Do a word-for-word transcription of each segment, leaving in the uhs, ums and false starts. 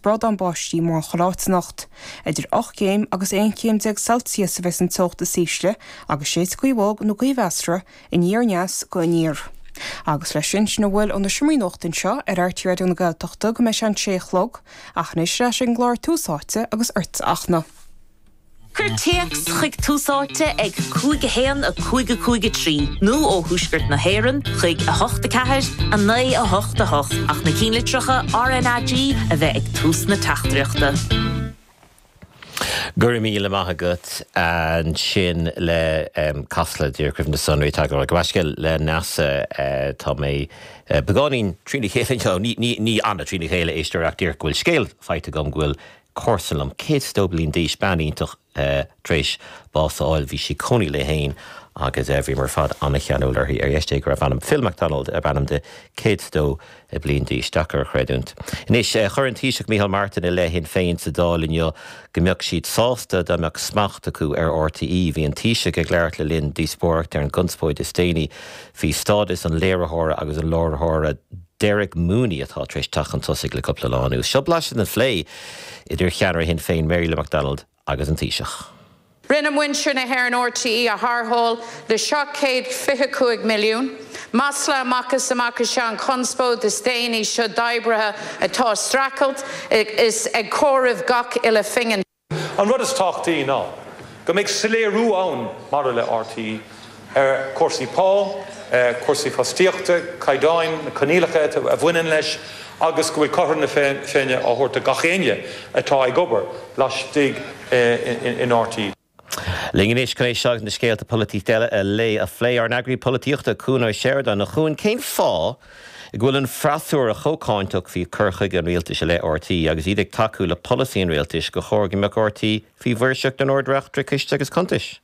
brádán báistí mórán chuile áit anocht. Idir ocht gcéim agus aon chéim déag Celsius a bheas an teocht is ísle agus séidfidh gaoth bhog nó gaoth mheasartha aniar aneas go aniar. Agus leis sin sin a bhfuil ó na seomraí nuachta anseo ar R T É Raidió na Gaeltachta go mbeidh sé an sé a chlog, ach anois leis an gclár Tús Áite agus ort achna. Cuir téacs chuig Tús Áite ag cúig a haon a cúig a cúig a trí nó ó Thuaisceart na hÉireann chuig a hocht a ceathair a naoi a hocht a hocht ach na ceannlitreacha R N A G a bheith ag tús na teachtaireachta. Go raibh míle maith agat. Ansin le um, Casla Dúircuimh na sonraí go bhscéal le Neasa. uh, tá mé uh, beagáinín trína chéile, ní, ní anna trína chéile éisteoir dír go bhfuil scéal faighte agam go bhfuil comharsa liom céad is dó bliain d'aois, bean iontach, uh, tar éis bás a fháil. Bhí sí cónaí léi féin agus uh, bhí mar fad an-cheanúil uirthi ar dheis go raibh ainm Phil MacDonald a b'ainm di, céad is dó bliain d'aois, deacair a chreidiúint. Anois uh, chuir an Taoiseach Micheál Martin i leith Shinn Féin sa Dáil inniu go mbeadh siad sásta dá mbeadh smacht acu ar R T É. Bhí an Taoiseach ag labhairt le linn díospóireacht ar an gconspóid is déanaí faoi stádas an léiritheora agus an láithreora Derek Mooney atá tar éis teacht chun tosaigh le cúpla lá anuas. Seo blaiseadh den phlé idir cheannaire Shinn Féin Mary Lou McDonald agus an Taoiseach. Rinne muintir na hÉireann R T É a tharrtháil le seacht gcéad fiche cúig milliún. Masla amach is amach is ea an chonspóid is déanaí seo d'oibrithe atá ag streachailt is ag comhaireamh gach uile phingin. An rud is tábhachtaí ná go mbeidh soiléiriú ann maidir le R T É ar cúrsaí pá, cúrsaí fostaíochta, caighdeáin, na coinníollacha a bhaineann leis agus go bhfuil cothrom na Féinne á thabhairt do gach éinne atá ag obair laistigh in R T É. Linn anois chun é seo na scéalta polaitíochta eile a lé a phlé ár n-eagraí polaitíochta Cuan Ó Seireadáin. A Chuain, cén fáth go bhfuil an freasúra chomh cáinteach faoi chur chuige an rialtais i leith R T É agus iad ag tacú le polasaí an rialtais gur chóir go mbeadh R T É faoi mhaoirseacht an Ard-Reachtaire Ciste agus Cuntais?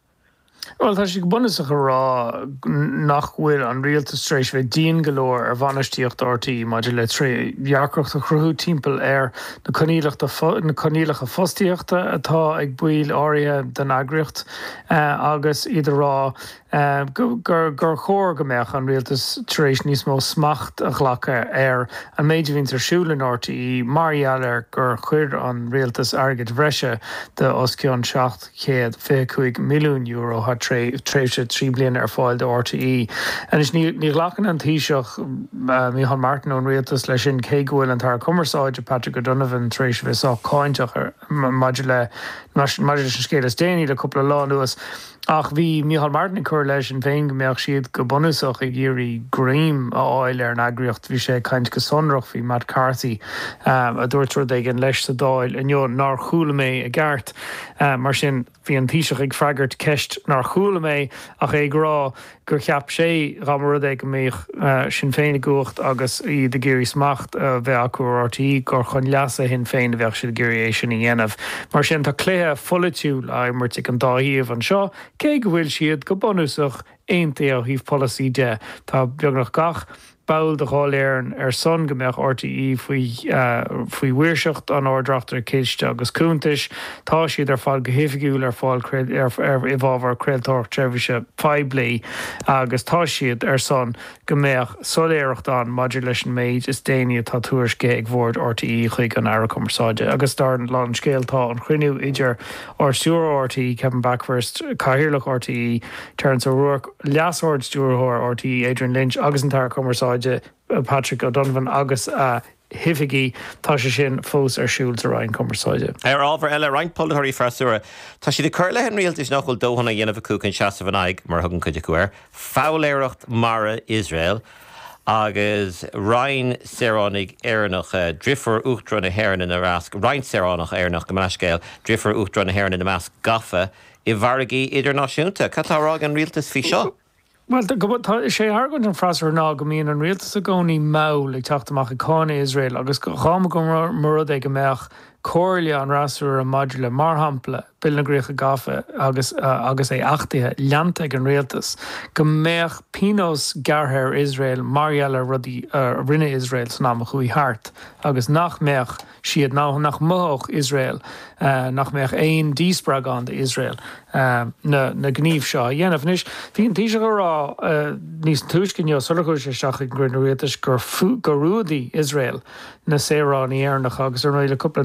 Well, tá sé go bunúsach a rá nach bhfuil an rialtas tar éis bheith dian go leor ar bhainistíocht R T É maidir le trédhearcacht a chruthú timpeall ar na na coinníollacha fostaíochta atá ag baill áirithe den eagraíocht agus iad a rá gur gur chóir go mbeadh an rialtas tar éis níos mó smacht a ghlacadh ar an méid a bhíonn ar siúl in R T É mar gheall ar gur chuir an rialtas airgead breise de os cionn seacht chéad fiche cúig milliún euro thar tréimhse trí bliana ar fáil do R T É. Anois ní ní ghlacann an Taoiseach Micheál Martin ón rialtas leis sin, cé go bhfuil an tAire Cumarsáide Patrick O'Donovan tar éis bheith sách cáinteach maidir le maidir leis an scéal is déanaí le cúpla lá anuas. Ach bhí Micheál Martin ag cur leis an féin go mbeadh siad go bunúsach ag iarraidh greim a fháil ar an eagraíocht. Bhí sé caint go sonrach faoi Matt Carthy um, a dúirt rud éigin leis sa Dáil inniu nár chuala mé i gceart. Uh, mar sin bhí an Taoiseach ag freagairt ceist nár chuala mé ach é ag rá gur cheap sé dá mba rud é go mbeadh uh, Sinn Féin i gcumhacht agus iad ag iarraidh smacht uh, bheith acu ar R T É gur chun leasa Shinn Féin a bheadh siad ag iarraidh é sin a dhéanamh. Mar sin tá cluiche polaitiúil á imirt ag an dá thaobh anseo, cé go bhfuil siad go bunúsach aontaithe ó thaobh polasaí de. Tá beagnach gach ball de Dháil Éireann ar son go mbeadh R T É faoi uh, faoi mhaoirseacht an Ard-Reachtaire Ciste agus Cuntais. Tá siad ar fáil go hoifigiúil ar fáil ar, ar i bhfabhar craoltóireacht seirbhíse poiblí agus tá siad ar son go mbeadh soiléireacht ann maidir leis an méid is déanaí atá tuairiscithe ag bord R T É chuig an Aire Cumarsáide. Agus dar lán scéal tá an cruinniú idir Ard-Stiúrthóir R T É Kevin Bakhurst, Cathaoirleach R T É Terence O'Rourke, Leas-Ard-Stiúrthóir R T É Adrian Lynch agus an tAire Cumarsáide Patrick O'Donovan agus a hoifigigh, tá sé sin fós ar siúl sa Roinn Cumarsáide. Ar ábhar eile, roinnt polaiteoirí freasúra, tá siad ag cur i leith an rialtais nach bhfuil dóthain á dhéanamh acu chun seasamh in aghaidh, mar a thugann cuid acu air, foghlaeireacht mara Iosrael agus roinnt saoránaigh Éireannacha, deirfiúr Uachtarán na hÉireann ina measc, roinnt saoránach Éireannach, go leithscéal, deirfiúr Uachtarán na hÉireann ina measc, gafa i bhfarraigí idirnáisiúnta. Cad tá á rá ag an rialtas faoi seo? Well, tá sé argóint an freasúra ná go mbíonn an rialtas i gcónaí mall ag teacht amach ag cáineadh Iosrael agus dá mba go rud é go mbeadh comhairle an fhreasúra maidir le, mar shampla, Bille na gCríocha Gafa agus uh, agus é achtaithe leanta ag an rialtas, go mbeadh pionós gearrtha ar Iosrael mar gheall ar rudaí uh, rinne Iosrael san am a chuaigh thart agus nach mbeadh siad ná nach mothódh Iosrael uh, nach mbeadh aon díspreagadh ann d'Iosrael uh, na, na gníomh seo a dhéanamh. Anois bhí an Taoiseach ag rá uh, níos túisce inniu sular chuaigh sé isteach ag an gcruinniú rialtais gur gur fhuadaigh Iosrael na saoránaigh Éireannacha agus ar le cúpla